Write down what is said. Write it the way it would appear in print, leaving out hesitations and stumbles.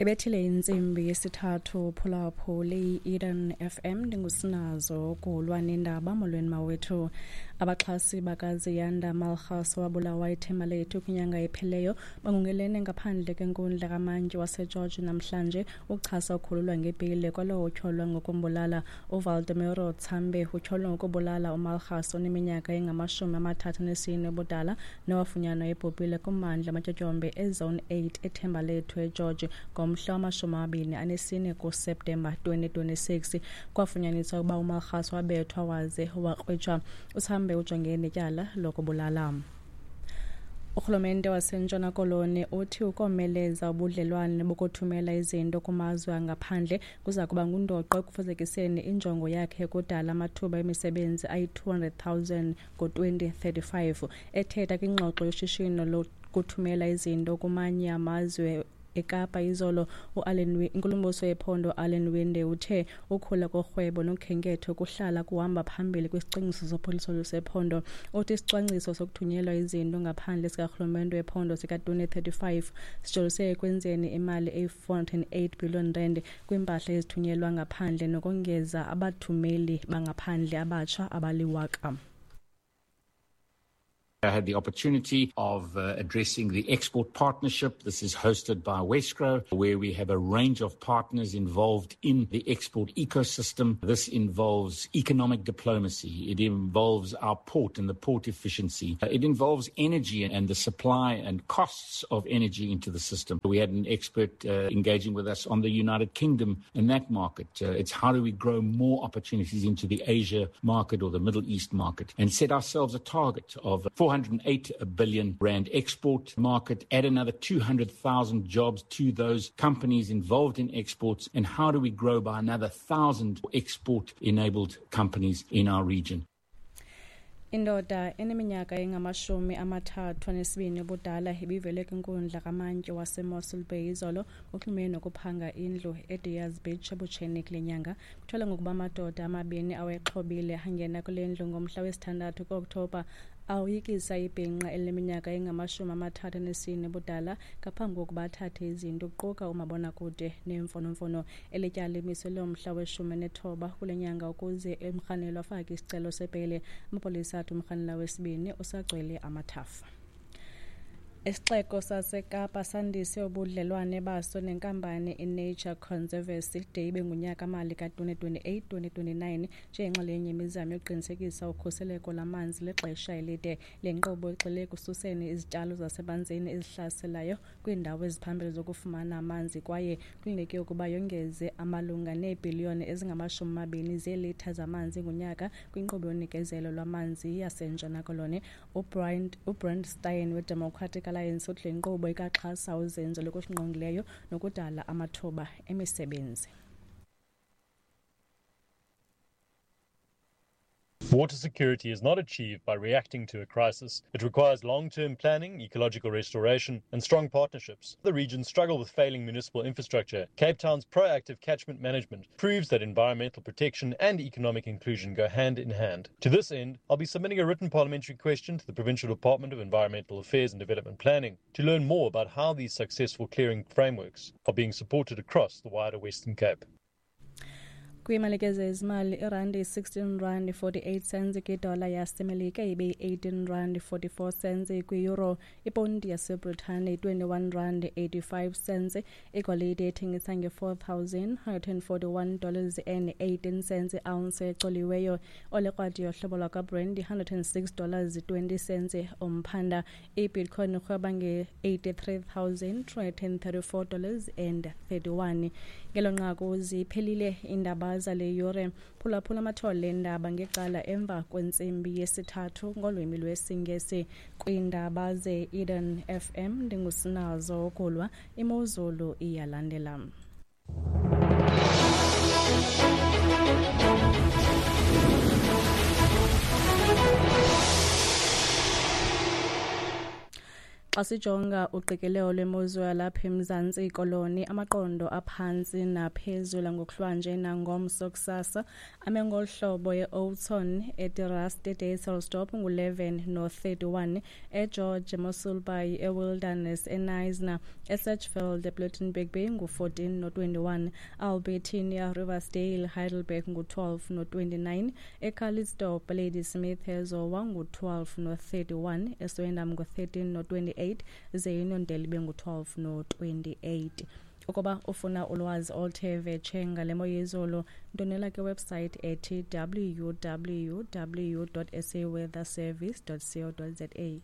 Ibethile intsimbi yesithathu phulaphuli i-Eden FM, ndingusinazo kulwa nendaba. Molweni mawethu. Abaxhasi bakaZiyanda Malgas owabulawa eThembalethu kwinyanga ephelileyo bangungelene ngaphandle kwenkundla kamantyi waseGeorge namhlanje ukuchasa ukhululwa ngebheyile kwalowo utyholwa ngokumbulala. UValdemiro Tsambe utyholwa ngokubulala uMalgas oneminyaka engama-34 ubudala nowafunyanwa ebhubhile kummandla amatyotyombe eZone 8 eThembalethu eGeorge ngomhla wama-24 kuSeptemba 2026. Kwafunyaniswa ukuba uMalgas wabethwa waze wakrwitshwa. UTsambe ujongene netyala lokubulala. Urhulumente waseNtshona Koloni uthi ukomeleza ubudlelwane bokuthumela izinto kumazwe angaphandle kuza kuba ngundoqo ekufezekiseni injongo yakhe yokudala amathuba emisebenzi ayi-200 000 ngo-2035. Ethetha kwingxoxo yoshishino lokuthumela izinto kumanye amazwe eKapa izolo, inkulumbuso yephondo Alan Winde uthe ukhula korhwebo nokhenketho kuhlala kuhamba phambili kwisicwangciso sophuhliso lwesephondo. Uthi isicwangciso sokuthunyelwa izinto ngaphandle sikarhulumente wephondo sika-2035 sijolise ekwenzeni imali eyi-408 billion rand kwiimpahla ezithunyelwa ngaphandle nokongeza abathumeli bangaphandle abatsha abaliwaka. I had the opportunity of addressing the export partnership. This is hosted by Wesgro, where we have a range of partners involved in the export ecosystem. This involves economic diplomacy. It involves our port and the port efficiency. It involves energy and the supply and costs of energy into the system. We had an expert engaging with us on the United Kingdom and that market. It's how do we grow more opportunities into the Asia market or the Middle East market, and set ourselves a target of 408 billion rand export market, add another 200,000 jobs to those companies involved in exports, and how do we grow by another 1,000 export-enabled companies in our region. Indoda eneminyaka engama-32 ubudala ibivele kwinkundla kamantyi waseMossel Bay izolo ngokuxhumene nokuphanga indlu eDiaz Beach ebutsheni kule nyanga. Kutyholwa ngokuba amadoda amabini awayexhobile angena kule ndlu ngomhla wesithandathu kuOkthobha awoyikisa ibhinqa elineminyaka engama-34 ubudala ngaphambi kokuba athathe izinto kuquka umabonakude neemfonomfono. Eli tyala limiselwe umhla we-19 kule nyanga ukuze umrhanelwa afake isicelo sebheyile. Amapolisa athi umrhanelwa wesibini usagcwele amathafa. Isixeko saseKapa sandise ubudlelwane baso nenkampani iNature Conservancy de ibe ngunyaka-mali ka-2028-2029 njengenxalenye yemizamo yokuqinisekisa ukhuseleko lwamanzi lexesha elide. Le nkqubo igxile ekususeni izityalo zasemanzini ezihlaselayo kwiindawo eziphambili zokufumana amanzi kwaye kulindeleke ukuba yongeze amalunga neebhiliyoni ezingama-20 zeelitha zamanzi ngonyaka kwinkqubo yonikezelo lwamanzi yaseNtshona Koloni. UBrand Steyn weDemocratic Alliance uthi le nkqubo ikaxhasa uzinzo lokusingqongileyo nokudala amathuba emisebenzi. Water security is not achieved by reacting to a crisis. It requires long-term planning, ecological restoration, and strong partnerships. The region struggle with failing municipal infrastructure. Cape Town's proactive catchment management proves that environmental protection and economic inclusion go hand in hand. To this end, I'll be submitting a written parliamentary question to the Provincial Department of Environmental Affairs and Development Planning to learn more about how these successful clearing frameworks are being supported across the wider Western Cape. Kwiimalike zezimali, irandi yi-16 rand 48 cents kwidola yaseMelika, ibe yi-18 rand 44 cents kwi-euro, iponti yaseBritane yi-21 rand 85 cents. Igolide ethengisa nge-$4,141 dollars and 18 cents i-ounce ecoliweyo. Olekrwada yohlobo lwakwaBrent yi-$106 dollars 20 cents umphanda. IBitcoin irhweba nge-$83,334 dollars and 31. Ngelo nqaku ziphelile iindaba zale yure. Phulaphula amathole eendaba ngecala emva kwentsimbi yesithathu ngolwimi lwesiNgesi. Kwiindaba ze-Eden FM ndingusinazo Okulwa. Imozulu iyalandela. Xa sijonga uqikelelo lwemozulu yalapha eMzantsi Koloni, amaqondo aphantsi naphezulu ngokuhlwanje nangomso kusasa ame ngolu hlobo: e-Oudtshoorn, eTerrace, eDysselsdorp ngu-11 no-31, eGeorge, eMossel Bay, eWilderness, eKnysna, eSedgefield, ePlettenberg Bay ngu-14 no-21, Albertinia, Riversdale, Heidelberg ngu-12 no-29, eCalitzdorp, Ladysmith, eZowa ngu-12 no-31, eSwellendam ngu-13 no-28, ze iNondele ibe ngu-12 no-28. Ukuba ufuna ulwazi oluthe vetshe ngale mo yezulu, ndonela kwiwebsite ethi www.saweatherservice.co.za.